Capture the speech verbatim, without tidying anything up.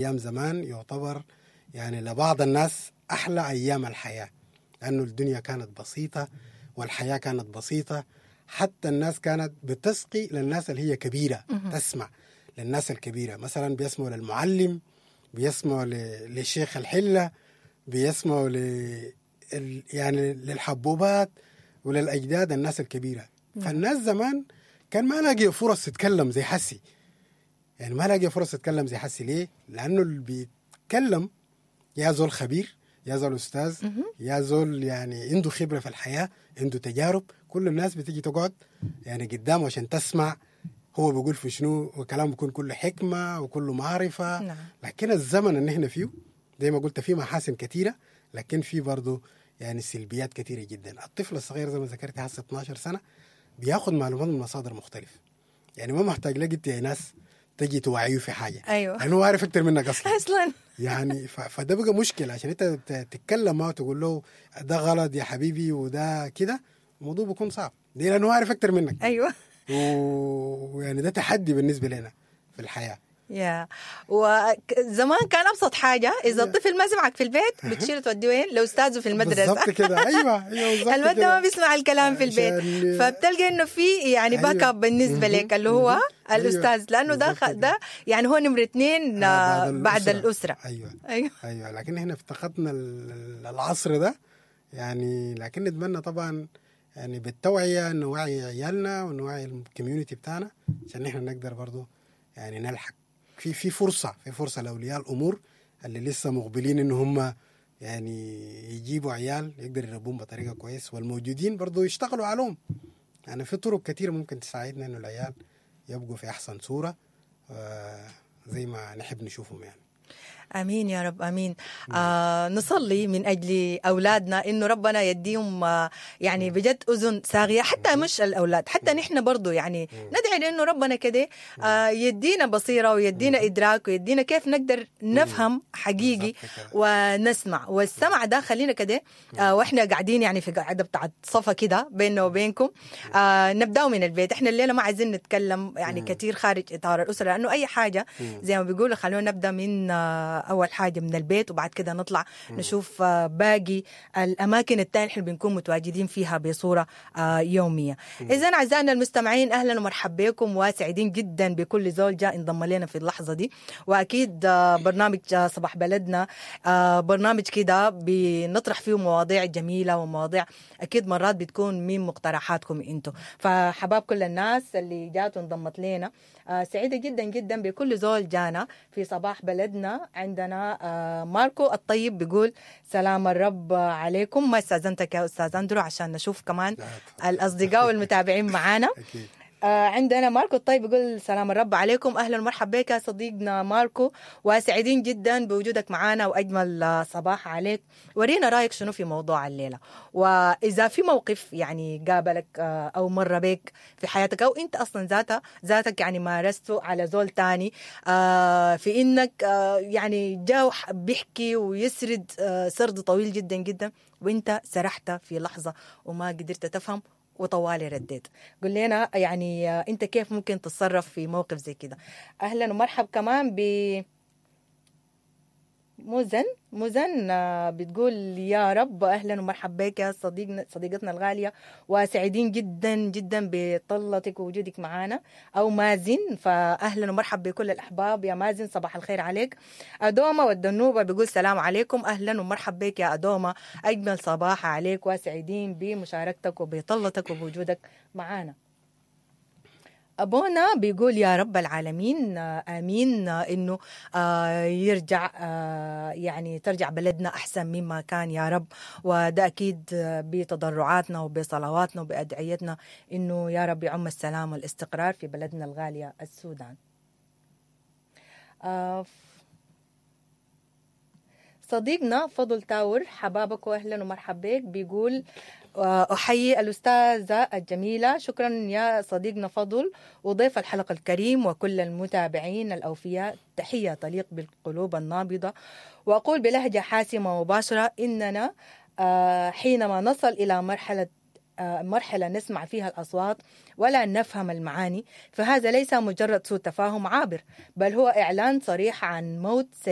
أيام زمان يعتبر يعني لبعض الناس أحلى أيام الحياة، لأنه الدنيا كانت بسيطة والحياة كانت بسيطة، حتى الناس كانت بتسقي للناس اللي هي كبيرة، تسمع للناس الكبيرة، مثلا بيسمعوا للمعلم، بيسمعوا ل- لشيخ الحلة، بيسمعوا ل ال- يعني للحبوبات وللأجداد الناس الكبيرة. فالناس زمان كان ما لاقي فرص تتكلم زي حسي، يعني ما لاقي فرص تتكلم زي حسي. ليه؟ لأنه اللي بيتكلم يا زول خبير، يا زول أستاذ، يا زول يعني عنده خبرة في الحياة، عنده تجارب. كل الناس بتيجي تقعد يعني قدامه عشان تسمع هو بيقول في شنو، وكلامه بيكون كله حكمة وكله معرفة. نعم. لكن الزمن اللي احنا فيه زي ما قلت فيه محاسن كثيرة، لكن فيه برضه يعني سلبيات كثيرة جدا. الطفل الصغير زي ما ذكرت هسه اتناشر سنة بياخد معلومات من مصادر مختلفة، يعني ما محتاج لك انت يا ناس تجي توعيه في حاجة، أيوة. لأنه هو عارف أكتر منك أصلا. أصلا يعني ف... فده بقى مشكلة، عشان أنت ت- تتكلم معه تقول له ده غلط يا حبيبي وده كده، الموضوع بيكون صعب. ليه؟ لأنه هو عارف أكتر منك. أيوة. و- ويعني ده تحدي بالنسبة لنا في الحياة. يا وزمان كان ابسط حاجة اذا الطفل ما سمعك في البيت بتشيله توديه وين؟ لاستاذه في المدرسة. بالضبط كده، ايوه ايوه بالضبط الولد كده. ما بيسمع الكلام في البيت، عشان- فبتلقى انه في يعني أيوة. back up بالنسبة لك اللي هو مهم. أيوة. الاستاذ، لانه ده بالضبط خ- كده. ده يعني هو نمره اثنين آه، آه، بعد الاسرة. ايوه ايوه ايوه. لكن احنا افتقدنا ال- العصر ده يعني، لكن نتمنى طبعا يعني بالتوعية نوعي عيالنا ونوعي ال community بتاعنا عشان احنا نقدر برضو يعني نلحق في في فرصة، في فرصة لاولياء الامور اللي لسه مقبلين ان هم يعني يجيبوا عيال يقدر يربوهم بطريقة كويس، والموجودين برضو يشتغلوا عليهم. يعني في طرق كثيرة ممكن تساعدنا انه العيال يبقوا في احسن صوره، آه، زي ما نحب نشوفهم يعني. امين يا رب، امين. آه نصلي من اجل اولادنا انه ربنا يديهم آه يعني بجد اذن صاغيه، حتى مش الاولاد، حتى نحن برضو يعني ندعي لانه ربنا كده آه يدينا بصيرة ويدينا ادراك ويدينا كيف نقدر نفهم حقيقي بالضبط كده. ونسمع. والسمع ده خلينا كده آه واحنا قاعدين يعني في قاعدة بتاعت صفا كده بيننا وبينكم، آه نبداو من البيت. احنا الليلة ما عايزين نتكلم يعني كثير خارج اطار الاسرة، لانه اي حاجة زي ما بيقولوا خلونا نبدا من آه اول حاجة من البيت، وبعد كده نطلع نشوف آه باقي الاماكن الثانية اللي بنكون متواجدين فيها بصورة آه يومية. اذا اعزائنا المستمعين اهلا ومرحبا بكم، وسعيدين جدا بكل زول جاء انضم لنا في اللحظة دي. واكيد آه برنامج آه، صباح بلدنا آه برنامج كده بنطرح فيه مواضيع جميلة ومواضيع اكيد مرات بتكون من مقترحاتكم انتم. فحباب كل الناس اللي جات وانضمت لنا، آه سعيدة جدا جدا بكل زول جانا في صباح بلدنا. عندنا آه ماركو الطيب بيقول سلام الرب عليكم. ما استاذنتك يا استاذ اندرو عشان نشوف كمان لا، تفضل. الاصدقاء والمتابعين معانا. اكيد. آه، عندنا ماركو الطيب يقول سلام الرب عليكم. اهلا ومرحبا بك يا صديقنا ماركو، وسعيدين جدا بوجودك معنا، واجمل آه، صباح عليك. ورينا رايك شنو في موضوع الليلة، واذا في موقف يعني قابلك آه، او مر بك في حياتك، او انت اصلا ذاتها ذاتك يعني مارسته على زول تاني، آه، في انك آه، يعني جاء وح- بيحكي ويسرد آه، سرد طويل جدا جدا، وانت سرحت في لحظة وما قدرت تفهم وطوالي رديت. قول لنا يعني آه، انت كيف ممكن تتصرف في موقف زي كده. اهلا ومرحب كمان ب مزن. مزن آه، بتقول يا رب. اهلا ومرحب بك يا صديقنا صديقتنا الغالية، وسعيدين جدا جدا بطلتك ووجودك معانا. او مازن، فاهلا ومرحب بكل الاحباب يا مازن، صباح الخير عليك. ادومه والدنوبه بيقول سلام عليكم. اهلا ومرحب بك يا ادومه، اجمل صباح عليك، وسعيدين بمشاركتك وبطلتك وبوجودك معانا. أبونا بيقول يا رب العالمين آه، آمين، آه، إنه آه، يرجع آه، يعني ترجع بلدنا أحسن مما كان يا رب. وده أكيد آه، بتضرعاتنا وبصلواتنا وبأدعيتنا إنه يا رب يعم السلام والاستقرار في بلدنا الغالية السودان. آه، صديقنا فضل تاور، حبابك واهلا ومرحبا بك، بيقول آه، احيي الاستاذة الجميلة. شكرا يا صديقنا فضل، وضيف الحلقة الكريم وكل المتابعين الاوفياء، تحية تليق بالقلوب النابضه. واقول بلهجة حاسمة ومباشرة اننا آه، حينما نصل الى مرحلة آه، مرحلة نسمع فيها الأصوات ولا نفهم المعاني، فهذا ليس مجرد سوء تفاهم عابر، بل هو إعلان صريح عن موت سريع.